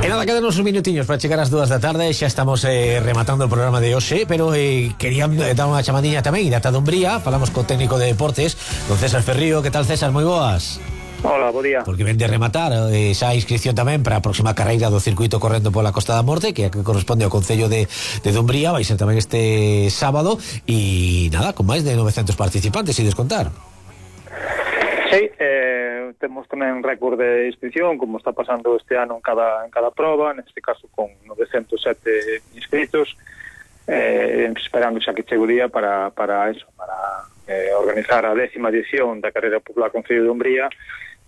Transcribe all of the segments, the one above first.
E nada, quedan uns minutiños para chegar ás 2 da tarde. Xa estamos rematando o programa de hoxe, pero quería dar unha chamadiña tamén da Dumbría. Falamos co técnico de deportes, don César Ferrío. Que tal, César? Moi boas. Hola, bo día. Porque ven de rematar esa inscripción tamén para a próxima carreira do circuito correndo pola Costa da Morte, que corresponde ao Concello de Dumbría. Vai ser tamén este sábado. E nada, con máis de 900 participantes, e descontar. Sí, temos tamén récord de inscripción, como está pasando este ano en cada prova, neste caso con 907 inscritos, esperando xa que chegue o día para organizar a 10ª edición da Carreira Popular Concello de Dumbría,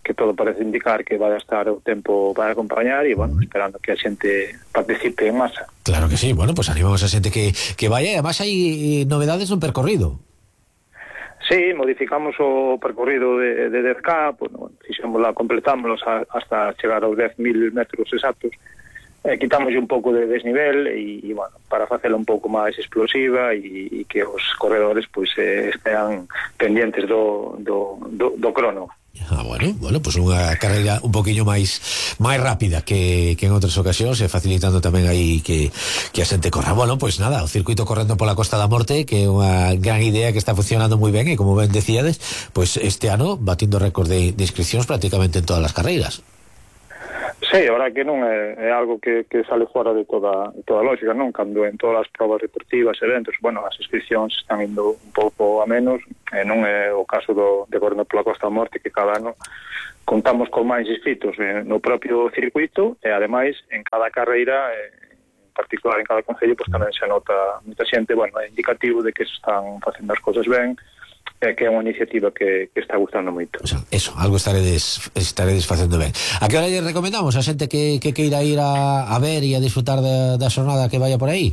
que todo parece indicar que vai estar o tempo para acompañar e, bueno, esperando que a xente participe en masa. Claro que sí, bueno, pues animamos a xente que vaya, e además hai novedades no percorrido. Sí, modificamos o percorrido de 10K, bueno, completámoslo hasta chegar aos 10.000 metros exactos, quitamos un pouco de desnivel e bueno, para facela un pouco máis explosiva e que os corredores pois estean pendientes do crono. Bueno, pues unha carreira un poquinho máis rápida que en outras ocasións, e facilitando tamén aí que a xente corra. Bueno, pues nada, o circuito correndo pola Costa da Morte, que é unha gran idea que está funcionando moi ben, e como ben decíades, pues este ano batindo récord de inscripcións prácticamente en todas as carreiras. Sí, a verdade que non é algo que sale fora de toda lógica, non? Cando en todas as probas deportivas, eventos, bueno, as inscripcións están indo un pouco a menos, non é o caso de correndo pola Costa da Morte, que cada ano contamos con máis inscritos no propio circuito, e ademais en cada carreira, en particular en cada concello, pues tamén se nota moita xente, bueno, é indicativo de que se están facendo as cosas ben, que é unha iniciativa que está gustando moito. O sea, eso, algo estaredes facendo ben. A que hora lle recomendamos a xente que queira ir a ver e a disfrutar da xornada que vaya por aí?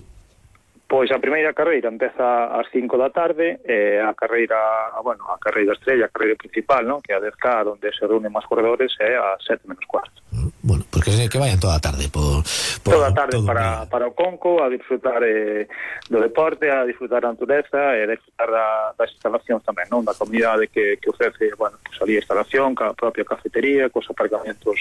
Pois a primeira carreira empeza ás 5 da tarde, a carreira estrella, a carreira principal, ¿no?, que é a 10K, onde se reúnen máis corredores, é a 7 menos cuarto. Bueno, porque que vayan toda a tarde toda a tarde para o Conco, a disfrutar do deporte, a disfrutar da natureza e a disfrutar das instalacións tamén, non? Da comunidade que ofrece, bueno, pues ali a instalación, a propia cafetería, cos aparcamentos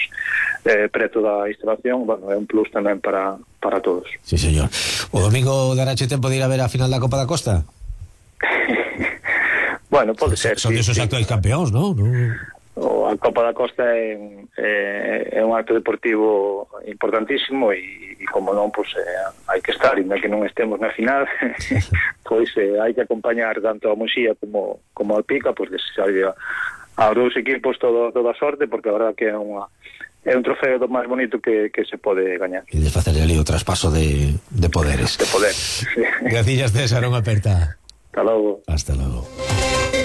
preto da instalación, bueno, é un plus tamén para todos. Sí, señor. O domingo darache tempo de ir a ver a final da Copa da Costa? Bueno, pode ser. Son desos actuais campeóns, non? A Copa da Costa é un acto deportivo importantísimo e como non, pois hai que estar, ainda que non estemos na final, pois hai que acompañar tanto a Muxía como a Pica, pois desearlle aos dous equipos toda a sorte, porque a verdade que é un trofeo do máis bonito que se pode gañar. E de facer ali o traspaso de poderes. De poder, sí. Gracias, César, unha aperta. Hasta logo. Hasta logo.